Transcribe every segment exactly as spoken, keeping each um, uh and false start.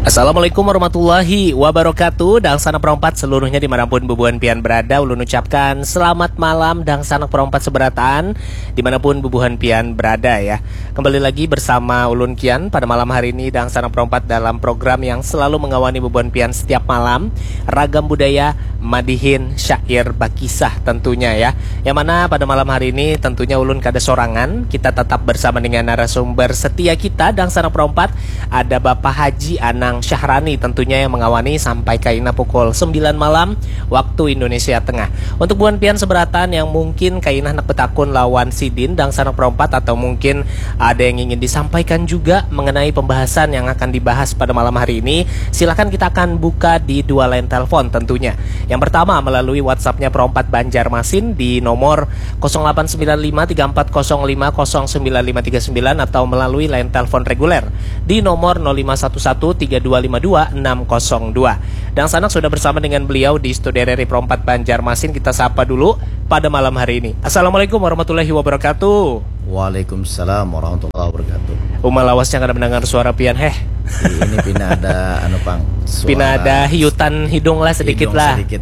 Assalamualaikum warahmatullahi wabarakatuh. Dangsanak perompat seluruhnya dimanapun bubuhan pian berada, ulun ucapkan selamat malam dangsanak perompat seberataan dimanapun bubuhan pian berada ya. Kembali lagi bersama ulun Kian pada malam hari ini dangsanak perompat dalam program yang selalu mengawani bubuhan pian setiap malam, Ragam Budaya Madihin Syair Bakisah tentunya ya. Yang mana pada malam hari ini tentunya ulun kada sorangan, kita tetap bersama dengan narasumber setia kita dangsanak perompat, ada Bapak Haji Anang Syahrani tentunya yang mengawani sampai kaina pukul sembilan malam waktu Indonesia Tengah. Untuk buhan pian seberataan yang mungkin kaina hendak betakun lawan sidin dangsanak perompat atau mungkin ada yang ingin disampaikan juga mengenai pembahasan yang akan dibahas pada malam hari ini, silakan kita akan buka di dua line telepon tentunya. Yang pertama melalui WhatsApp-nya Perompat Banjarmasin di nomor kosong delapan sembilan lima tiga empat kosong lima kosong sembilan lima tiga sembilan atau melalui line telepon reguler di nomor nol lima satu satu tiga dua lima dua enam kosong dua. Dangsanak sudah bersama dengan beliau di studio R R I Perompat Banjarmasin. Kita sapa dulu pada malam hari ini. Assalamualaikum warahmatullahi wabarakatuh. Waalaikumsalam warahmatullahi wabarakatuh. Uma lawasnya kada mendengar suara pian heh. Ini pina ada anu pang. Pina ada hiutan hidung lah sedikit Hidung lah. Sedikit.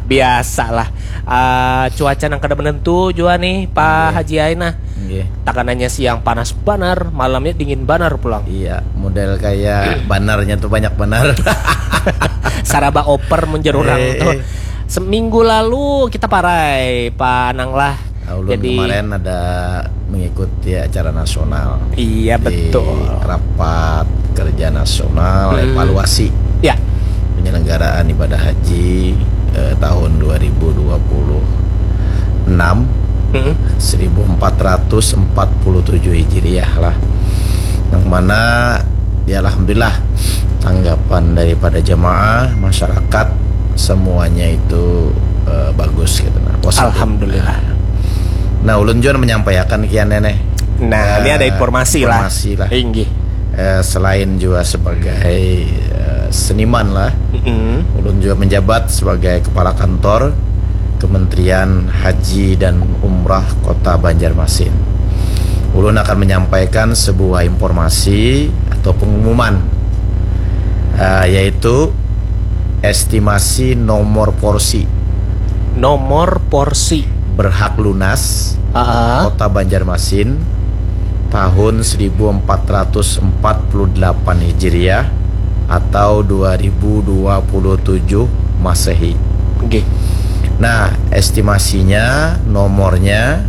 Biasalah. Ah, cuaca nang kada menentu jua nih Pak Iya. Haji Aina. Nggih. Takanannya siang panas banar, malamnya dingin banar pulang. Iya, model kayak banarnya tuh banyak benar. Saraba oper mun jar urang Eh, tuh. eh. Seminggu lalu kita parai Pak Anang lah. Nah, ulun Jadi kemarin ada mengikuti acara nasional. Iya, Di betul. Rapat kerja nasional Hmm. evaluasi Ya. penyelenggaraan ibadah haji eh, tahun dua ribu dua puluh enam, Hmm. seribu empat ratus empat puluh tujuh Hijriah lah. Yang mana ya alhamdulillah tanggapan daripada jemaah, masyarakat, semuanya itu eh, bagus gitu, nah, positif. Alhamdulillah. Nah, ulun juga menyampaikan kian nih. Nah, Eh, ini ada informasi lah. Informasi lah. Inggih. Eh, selain juga sebagai eh, seniman lah, Mm-mm. ulun juga menjabat sebagai kepala kantor Kementerian Haji dan Umrah Kota Banjarmasin. Ulun akan menyampaikan sebuah informasi atau pengumuman, eh, yaitu estimasi nomor porsi Nomor porsi. berhak lunas Ah, Kota Banjarmasin tahun seribu empat ratus empat puluh delapan Hijriah atau dua ribu dua puluh tujuh Masehi. Oke. Nah, estimasinya nomornya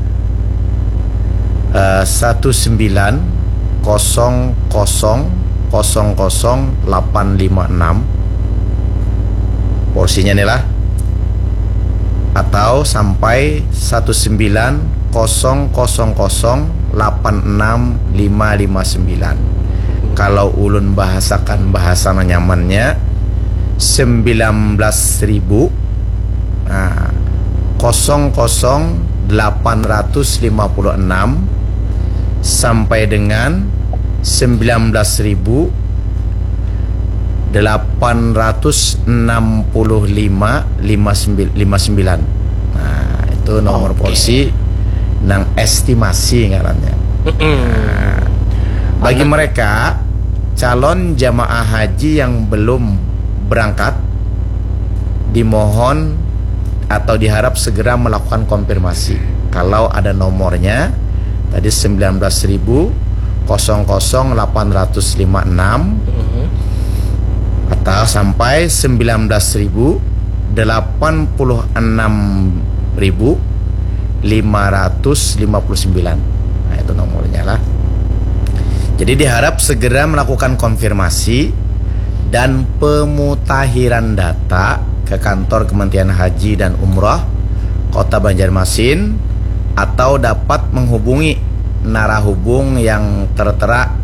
eh, satu sembilan kosong kosong kosong kosong delapan lima enam. Porsinya nih lah. Atau sampai satu sembilan kosong kosong kosong delapan enam lima lima sembilan. Kalau ulun bahasakan bahasa nyamannya, sembilan belas ribu, nah, kosong kosong delapan ratus lima puluh enam sampai dengan sembilan belas ribu delapan ratus enam puluh lima lima sembilan. Nah, itu nomor Oke. Porsi nang estimasi ngarannya. Mm-mm. Bagi Anak- mereka calon jamaah haji yang belum berangkat, dimohon atau diharap segera melakukan konfirmasi. Kalau ada nomornya, tadi sembilan belas ribu kosong kosong delapan ratus lima enam, Mm-mm. atau sampai sembilan belas ribu delapan puluh enam ribu lima ratus lima puluh sembilan. Nah, itu nomornya lah. Jadi diharap segera melakukan konfirmasi dan pemutahiran data ke kantor Kementerian Haji dan Umroh Kota Banjarmasin atau dapat menghubungi narahubung yang tertera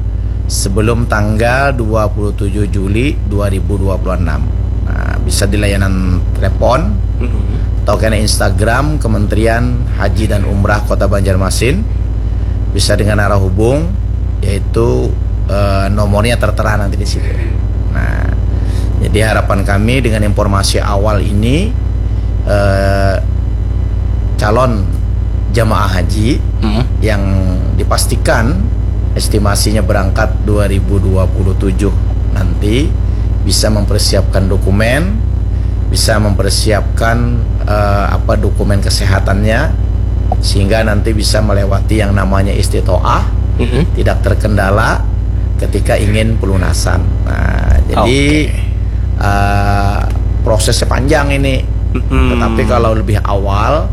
sebelum tanggal dua puluh tujuh Juli dua ribu dua puluh enam. Nah, bisa di layanan telepon Mm-mm. atau kena Instagram Kementerian Haji dan Umrah Kota Banjarmasin. Bisa dengan arah hubung, yaitu eh, nomornya tertera nanti di situ. Nah, jadi harapan kami dengan informasi awal ini, eh, calon jamaah haji Mm-mm. yang dipastikan estimasinya berangkat dua ribu dua puluh tujuh nanti bisa mempersiapkan dokumen, bisa mempersiapkan eh, apa dokumen kesehatannya, sehingga nanti bisa melewati yang namanya istitoah, Mm-mm. tidak terkendala ketika ingin pelunasan. Nah, jadi Oke. eh, prosesnya panjang ini. Mm-mm. Tetapi kalau lebih awal,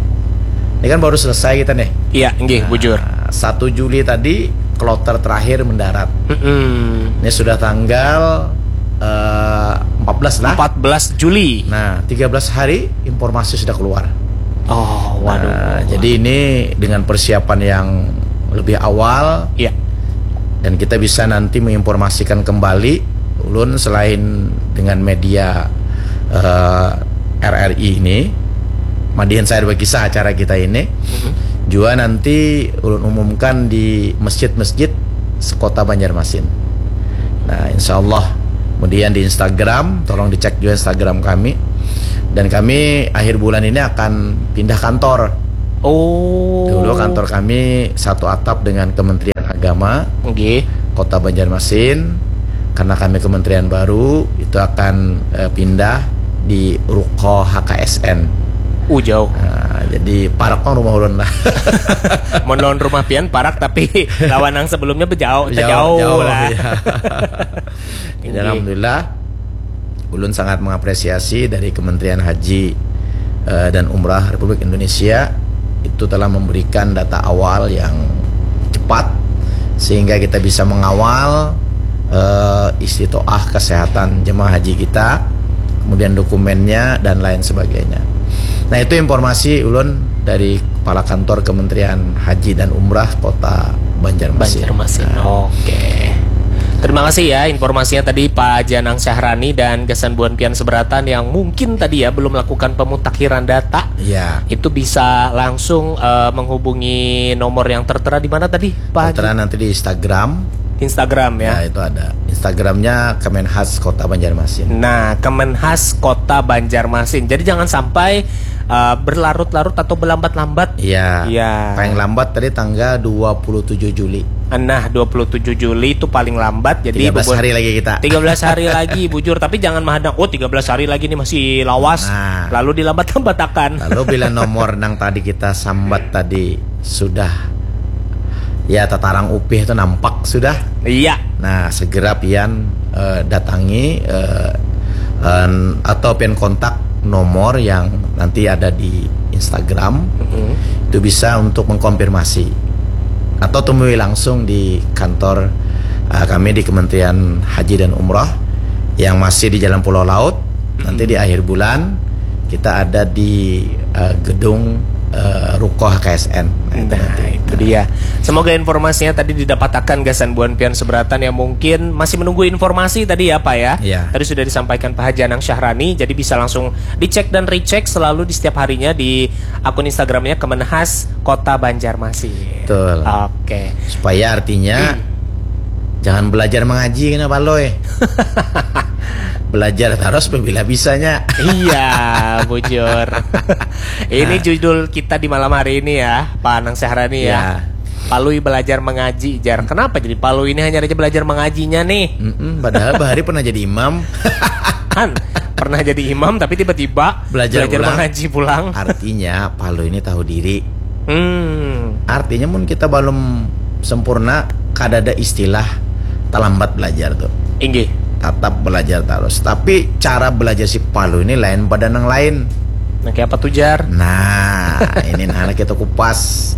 ini kan baru selesai kita nih. Iya, nggih, bujur. Nah, satu Juli tadi kloter terakhir mendarat. Mm-mm. Ini sudah tanggal eh, empat belas lah. empat belas Juli. Nah, tiga belas hari informasi sudah keluar. Oh, waduh. Nah, jadi ini dengan persiapan yang lebih awal, Iya. dan kita bisa nanti menginformasikan kembali ulun selain dengan media eh, R R I ini, Madihin saya berkisah acara kita ini, Mhm. juga nanti ulun umumkan di masjid-masjid sekota Banjarmasin. Nah, insya Allah, kemudian di Instagram, tolong dicek juga Instagram kami. Dan kami akhir bulan ini akan pindah kantor. Oh. Dulu kantor kami satu atap dengan Kementerian Agama Nggih. Kota Banjarmasin. Karena kami kementerian baru, itu akan eh, pindah di Ruko H K S N. Uh, jauh. Nah, jadi parak pang rumah ulun lah. Mun lawan rumah pian parak, tapi lawan yang sebelumnya bejauh, Jauh, jauh, jauh, lah. Iya. Jadi Inggih. alhamdulillah, ulun sangat mengapresiasi dari Kementerian Haji eh, dan Umrah Republik Indonesia itu telah memberikan data awal yang cepat sehingga kita bisa mengawal eh, istitoah kesehatan jemaah haji kita, kemudian dokumennya dan lain sebagainya. Nah, itu informasi ulun dari Kepala Kantor Kementerian Haji dan Umrah Kota Banjarmasin. Banjarmasin. Oke. Terima kasih ya informasinya tadi, Pak Janang Syahrani, dan gasan buhan pian seberatan yang mungkin tadi ya belum melakukan pemutakhiran data. Ya. Itu bisa langsung eh, menghubungi nomor yang tertera di mana tadi, Pak Haji? Tertera nanti di Instagram. Instagram ya. Ya, itu ada. Instagramnya Kemenhas Kota Banjarmasin. Nah, Kemenhas Kota Banjarmasin. Jadi jangan sampai eh, berlarut-larut atau berlambat-lambat. Iya. Iya. Paling lambat tadi tanggal dua puluh tujuh Juli. Nah, dua puluh tujuh Juli itu paling lambat. Jadi Tiga belas bubur- hari lagi kita. Tiga belas hari lagi, bujur. Tapi jangan mahadang, "Oh, tiga belas hari lagi nih masih lawas." Nah. Lalu dilambat-lambatakan. Lalu bila nomor nang tadi kita sambat tadi sudah ya tatarang upih itu nampak sudah. Iya. Nah, segera pian eh, datangi eh, en- atau pian kontak nomor yang nanti ada di Instagram. Mm-mm. Itu bisa untuk mengkonfirmasi atau temui langsung di kantor eh, kami di Kementerian Haji dan Umroh yang masih di Jalan Pulau Laut. Nanti di akhir bulan kita ada di eh, gedung eh, Ruko H K S N. Nah, itu Nah, nanti. itu dia. Semoga informasinya tadi didapatakan gasan buhan pian seberatan yang mungkin masih menunggu informasi tadi ya, Pak ya. Iya. Tadi sudah disampaikan Pak Haji Anang Syahrani, jadi bisa langsung dicek dan recheck selalu di setiap harinya di akun Instagramnya Kemenhas Kota Banjarmasin. Betul. Oke. Supaya artinya jangan belajar mengaji kena palui. Belajar terus bila bisanya. Iya, bujur. Ini judul kita di malam hari ini ya, Pak Anang Syahrani ya. Ya. Palui belajar mengaji, jar. Kenapa jadi Palui ini hanya aja belajar mengajinya nih? Mm-mm, padahal bahari pernah jadi imam. Kan pernah jadi imam tapi tiba-tiba Belajar belajar pulang. Mengaji pulang. Artinya Palui ini tahu diri. Hmm, Artinya mun kita belum sempurna, kada ada istilah terlambat belajar tuh. Inggih. Tetap belajar terus. Tapi cara belajar si Palui ini lain pada nang lain. Nah, kayak apa tuh, jar? Nah, ini nah kita kupas.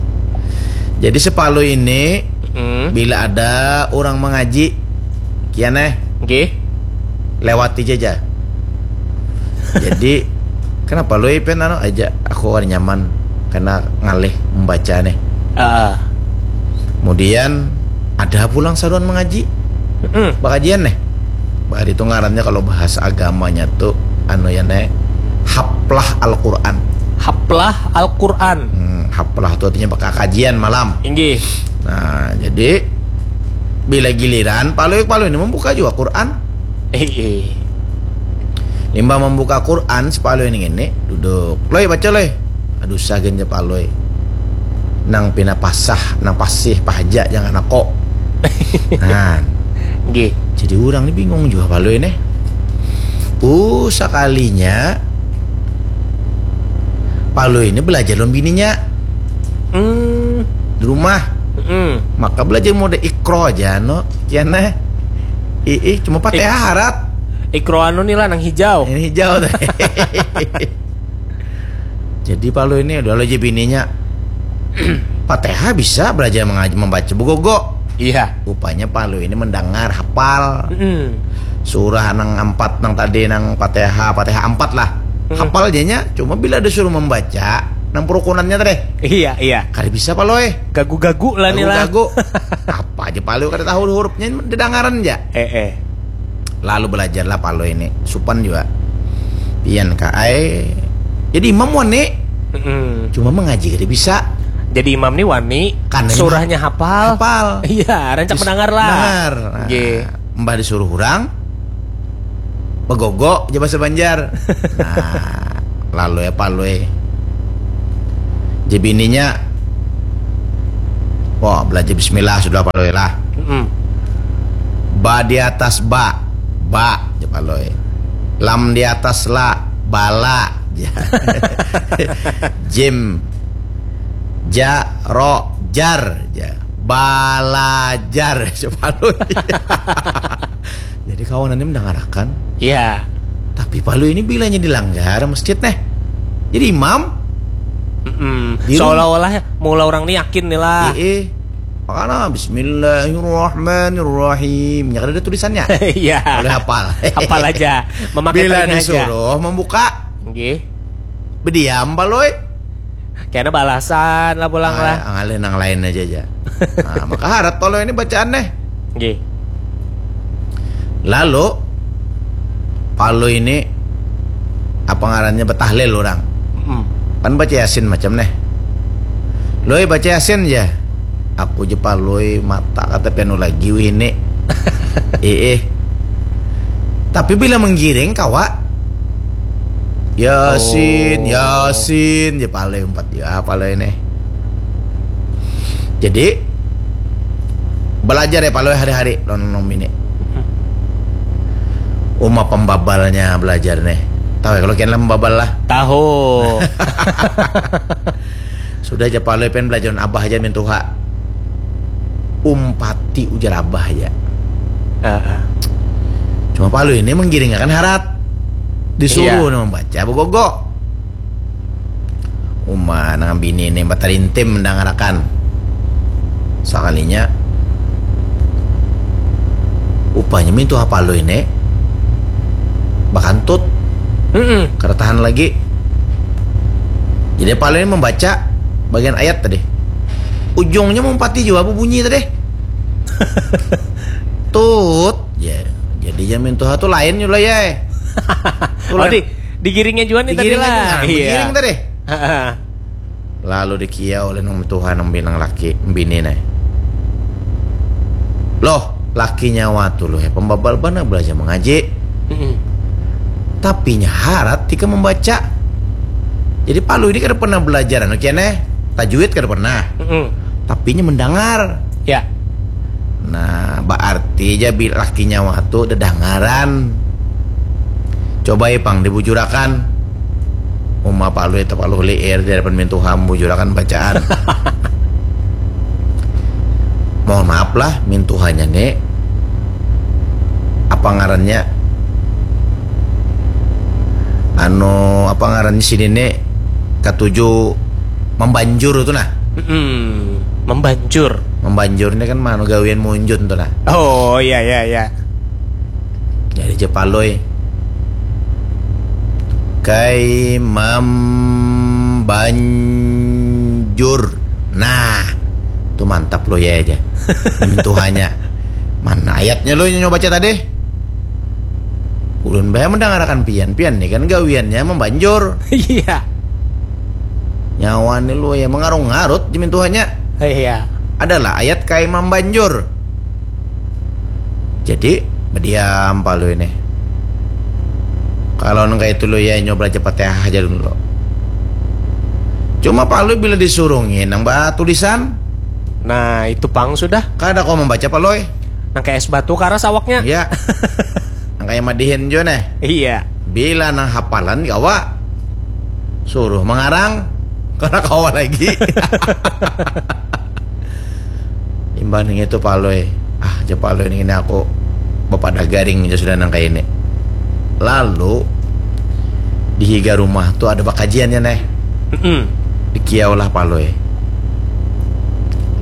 Jadi si Palui ini Hmm. Bila ada orang mengaji, kian eh Nggih. Lewati aja. Jadi kenapa lui pian anu aja, aku kan nyaman karena ngalih membaca nih. Ah. Kemudian ada pulang saruan mengaji, Mm-mm. bakajian nih. Bahari itu ngarannya kalau bahasa agamanya tuh anu ya nih, haplah Al-Quran. Haplah Al-Quran. Hmm, haplah tuh artinya bakal kajian malam. Inggih. Nah, jadi bila giliran palui palui ini membuka juga Quran. Eh, eh. Limbah membuka Quran, si palui ini ngini duduk. Loi, baca loi. Aduh, sagan je palui. Nang pina pasah, nang pasih pahaja jangan ako. Nah, Nggih. Jadi orang ni bingung juga Palui nih. Uh, sakalinya Palui ini belajar lawan bininya Hmm. di rumah. Mm-mm. Maka belajar mode ikro aja no. Kian eh. Ih, cuma Fatihah harat. Ikro anu nih lah nang hijau. Ini hijau teh. Jadi Palui ini udah aja bininya. Fatihah bisa belajar mengaji membaca begogo. Iya. Rupanya Palui ini mendengar hafal Mm-mm. surah nang empat nang tadi nang Fatihah, Fatihah empat lah. Mm-mm. Hafal janya, cuma bila disuruh membaca nang perukunannya tadi. Iya, iya. Kada bisa Palui. Gagu-gagu lah nih lah. Gagu-gagu. Apa aja Palui kada tahu hurufnya didengaran aja. Eh, eh. Lalu belajarlah Palui ini. Supan juga. Pian ka ai. Jadi imam wani. Mm-mm. Cuma mengaji kada bisa. Jadi imam nih wani. Karena Surahnya hafal. Hafal. Iya, rancak mendengar lah. Dengar. Nah, Nggih. Mbah disuruh orang begogo aja bahasa Banjar. Nah, lalu ya Palui. Jadi bininya, wah belajar Bismillah sudah Palui lah. Mm-mm. Ba di atas ba, ba aja Palui. Lam di atas la, bala. Ja. Jim, ja, ro, jar. Ja. Balajar aja Palui. Jadi kawanannya mendengarakan. Iya. Tapi Palui ini bilanya di langgar masjid nih. Jadi imam. Mm-mm. Di rumah. Seolah-olah mula orang nih yakin nih lah. Eh, eh. Makanya Bismillahirrahmanirrahim. Ya kan ada tulisannya. Iya. Boleh hafal. Hafal aja. Memakai Bila telinga aja. Disuruh membuka, Nggih. Berdiam Palui. Kena balasan lah pulang lah. Ah, ngalih nang lain aja aja. Nah, maka harat Palui ini bacaan nih. Nggih. Lalu Palui ini apa ngarannya betahlil orang. Mm. Kan baca Yasin macam nih. Lui baca Yasin aja. Aku je Palui mata kata pianu lagi wih ini. Eh, eh. Tapi bila menggiring kawa Yasin, Oh. Yasin je Palui umpat ya Palui ini. Jadi belajar ya Palui hari-hari lawan nang bini. Uma pembabalnya belajar nih. Tahu ya kalau kian lah pembabal lah. Tahu. Sudah aja Palui pen belajar lawan abah aja mintuha. Umpati ujar abah aja. Heeh. Cuma Palui ini menggiringakan harat. Disuruh Iya. Nih membaca begogo. Uma nang bini ini batarintim mendangarakan. Sakalinya upanya mintuha Palui ini bakantut. Mm-mm. Kada tahan lagi. Jadi Palui ini membaca bagian ayat tadi. Ujungnya mumpati jua bunyi tadi. Tut. Ya, jadi ya mintuha tu lain jua ya. Oh, di, digiringnya juga nih tadi Digiring lah. aja, nah, Iya. digiring tadi. Heeh. Lalu dikiau oleh nang tuha nang binang laki bini nih. Loh, laki nyawa tu loh ya pembabal bana belajar mengaji. Mm-mm. Tapinya harat tika membaca. Jadi Palui ini kada pernah belajar anu kian eh tajwid kada pernah. Mm-mm. Tapinya mendengar. Ya. Nah, berarti aja bila laki nyawa tu dedangaran. Coba ya pang dibujurakan. Uma Palui itu Palui liir di hadapan mintuha membujurakan bacaan. Mohon maaf lah mintuhanya nih. Apa ngarannya? Anu apa ngarannya sini nih katuju membanjur itu nah. Mm-mm. Membanjur. Membanjur ini kan manu gawian munjun tuh nah. Oh, iya, iya, iya. Jadi aja Palui kai membanjur. Nah, itu mantap lo ya aja. Mintuhanya. Mana ayatnya lo yang nyoba baca tadi? Ulun bae mendangarakan pian, pian nih kan gawiannya membanjur. Iya. Nyawa nih lo ya mengarung-ngarut di mintuhanya. Iya. Adalah ayat kai membanjur. Jadi berdiam Palui ini. Kalau nang kayak itu lo ya nyoba aja Fatihah aja dulu. Cuma Palui bila disuruh nginang bah tulisan, Nah, itu pang sudah. kada kau membaca Palui. Nang kayak es batu karas awaknya. Iya. Nang kayak madihin jo neh. Iya. Bila nang hapalan kawa suruh mengarang, karena kawa lagi. Imbah nang itu Palui, ah, ja Palui, ini aku bapadah garing ja sudah nang kayak ini. Lalu di higa rumah tuh ada bakajiannya neh. Mm-mm. Dikiau lah Palui.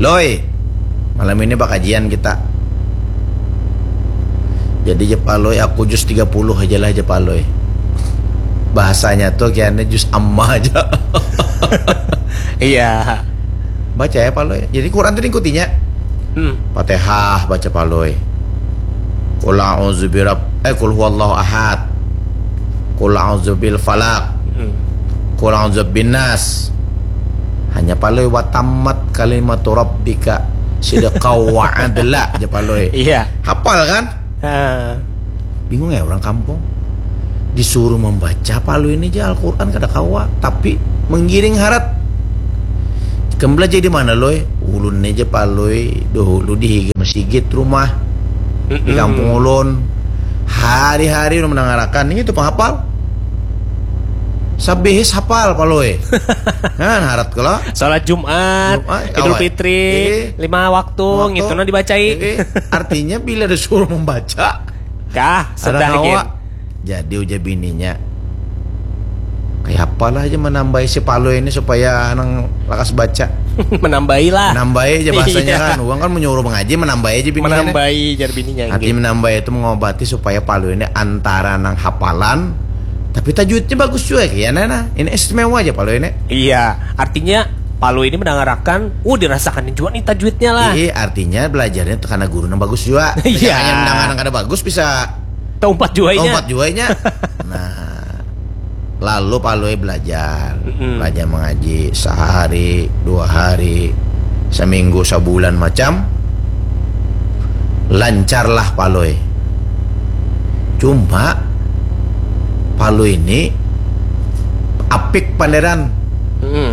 Loi, malam ini bakajian kita. Jadi ja Palui, aku jus tiga puluh aja lah ja Palui. Bahasanya tuh kayaknya jus amma aja. Iya. Baca ya Palui. Jadi Quran tuh diikutinya. Hmm. Fatihah baca Palui. Qul a'udzu birab eh qul huwallahu ahad. Qul a'udzu bil falaq. Hmm. Qul a'udzu bin nas. Hanya Palui, wa tammat kalimatu rabbika sidqau wa adla aja Palui. Iya. Hafal kan? Ha. Bingung ya orang kampung. Disuruh membaca Palui ini aja Al-Quran kada kawa, tapi menggiring harat. Ikam belajar di mana Loi? Ulun aja Palui dahulu di higa masigit rumah di kampung ulun. Hari-hari ulun mendengarkan ini tuh penghafal. Sabihis hafal Palui. Nah, harat kalau Salat Jumat, Jumat, Idul awal. Fitri, eh, lima waktu, waktu gitu nah dibacai. Eh, artinya bila disuruh membaca, kah, sedang kawa. Jadi ujar bininya, kayak apalah aja menambahi si Palui ini supaya nang lakas baca. Menambahi lah. Menambahi aja bahasanya iya. Kan. Uang kan menyuruh mengaji, menambahi aja bininya. Menambahi jar bininya. Artinya menambahi itu mengobati supaya Palui ini antara nang hafalan, tapi tajwidnya bagus juga ya nah. Ini istimewa aja Palui ini. Iya, artinya Palui ini mendengarkan, uh dirasakan juga nih tajwidnya lah. Iya, artinya belajarnya karena guru yang bagus juga. Iya. Yang mendengar kada bagus bisa Taumpat juainya. Taumpat juainya. Nah, lalu Palui belajar, mm-hmm. Belajar mengaji sehari, dua hari, seminggu, sebulan macam, lancarlah Palui. Cuma Palui ini apik panderan. Mm-hmm.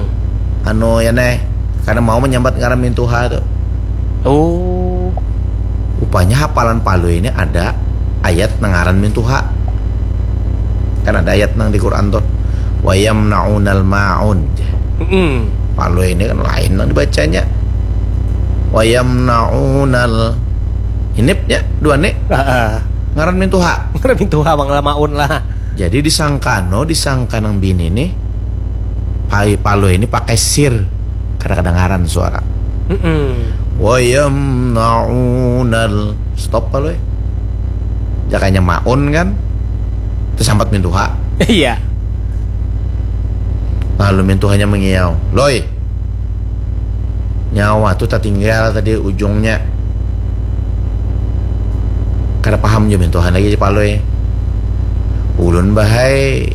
Anu ya neh, karena mau menyambat ngaran mintuha tuh. Oh. Rupanya hafalan Palui ini ada ayat nang ngaran mintuha. Kan ada ayat nang di Quran tuh. Wayam naunal maun. Mm-mm. Palui ini kan lain nang dibacanya. Wayam naunal ini ya dua nih. Ngaran mintuha. Ngaran mintuha bang maun lah. Jadi disangkano disangka nang bini nih. Palui ini pakai sir. Kada kedengaran suara. Mm-mm. Wayam naunal stop kalau ya. Jakanya maun kan. Tersambat mintuha. Iya. Lalu mintuhanya mengiau, Loi. Nyawa tuh tertinggal tadi ujungnya. Kada paham juga mintuhan lagi si Palui. Ulun bahai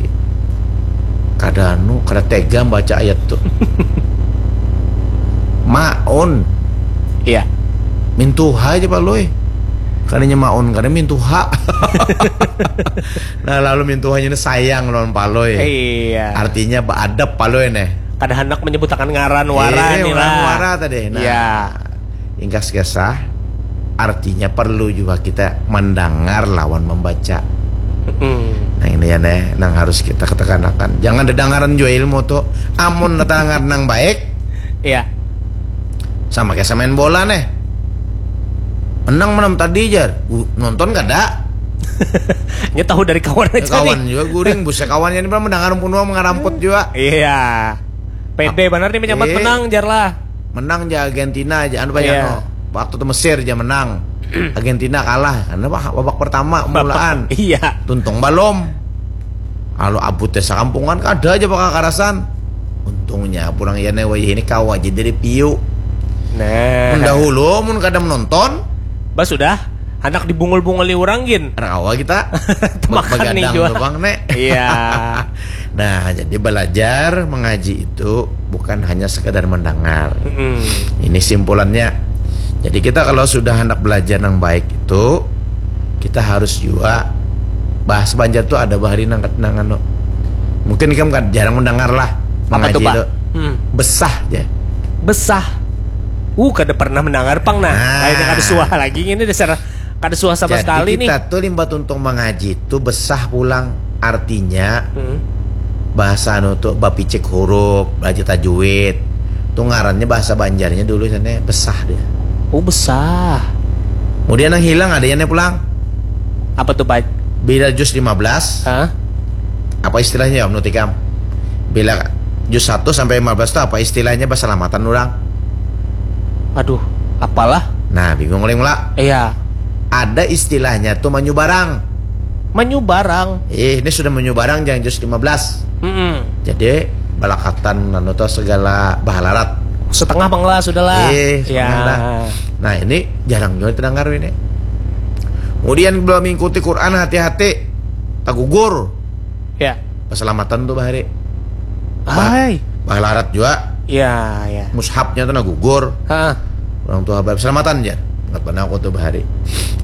kada anu, kada tega baca ayat tuh. Maun. Iya. Mintuha aja Palui. Kadanya maun, kada mintuha. Nah, lalu mintuhanya ini sayang lawan Palui. Iya. Artinya beadab Palui nih. Kada hendak menyebutakan ngaran wara eh, nih lah. Wara tadi. Nah. Iya. Ingkas kisah, artinya perlu juga kita mendengar lawan membaca. Hmm. Nah ini ya neh, nang harus kita ketekanakan. Jangan didengaran jua ilmu tuh. Amun dengar nang baik, iya. Sama kayak main bola neh. Menang menang tadi jar. Uh, nonton kada? Nya tahu dari kawan aja. Kawan juga guring, busa kawannya ini mendengar pun mengaramput juga. Iya. Pede benar nih menyambat eh, menang jar lah. Menang ja Argentina aja anu banyak iya. No. Waktu itu Mesir aja menang. Argentina kalah karena babak pertama mulaan. Iya. Tuntung balom. Lalu abut desa kampungan kada aja bakal karasan. Untungnya pulang ya wayah ini kawa aja dari piu. Nah. Mendahulu mun kada menonton. Bah sudah. Anak dibungul-bunguli orang gin. Anak awal kita. Makan nih juga. Bang, nek. Iya. Nah, jadi belajar mengaji itu bukan hanya sekedar mendengar. Mm-hmm. Ini simpulannya. Jadi kita kalau sudah hendak belajar yang baik itu, kita harus juga bahas Banjar tuh ada bahari nang nang anu. Mungkin kamu kan jarang mendengar lah. Apa tuh, Pak? Hmm. Besah ya. Besah. Uh, kada pernah mendengar pang nah. Nah. Kayaknya kada suah lagi ini dasar Ada suah sama Jadi sekali nih. Kita tuh limbah tuntung mengaji tuh besah pulang. Artinya Hmm. bahasa anu tuh bapicik huruf, belajar tajwid. Tuh ngarannya bahasa Banjarnya dulu sana besah dia. Oh, besah. Kemudian yang hilang ada yang pulang. Apa tuh, Pak? Bila juz lima belas, Hah? apa istilahnya ya, menurut ikam? Bila juz satu sampai lima belas itu apa istilahnya, basalamatan orang? Aduh, apalah? Nah, bingung oleh mula. Iya. Ada istilahnya tuh manyubarang. Manyubarang. Eh, ini sudah manyubarang jangan juz lima belas. Mm-mm. Jadi balakatan anu tuh segala bahalarat. Setengah penglah sudahlah. Eh, Ya. setengah dah. Nah, ini jarang juga terdengar ini. Kemudian belum mengikuti Quran, hati-hati, tagugur. Ya. Keselamatan tuh bahari. Hai. Bahalarat juga. Ya, ya. Mushafnya tuh nah gugur. Hah. Orang tua bapak selamatan aja. Ingat pernah aku tuh bahari.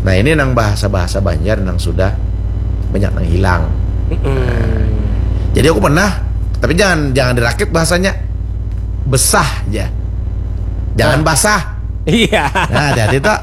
Nah, ini nang bahasa-bahasa Banjar nang sudah banyak nang hilang. Mm-mm. Jadi aku pernah, tapi jangan jangan dirakit bahasanya. Besah aja. Jangan Nah. Basah. Iya. Nah, hati-hati tuh.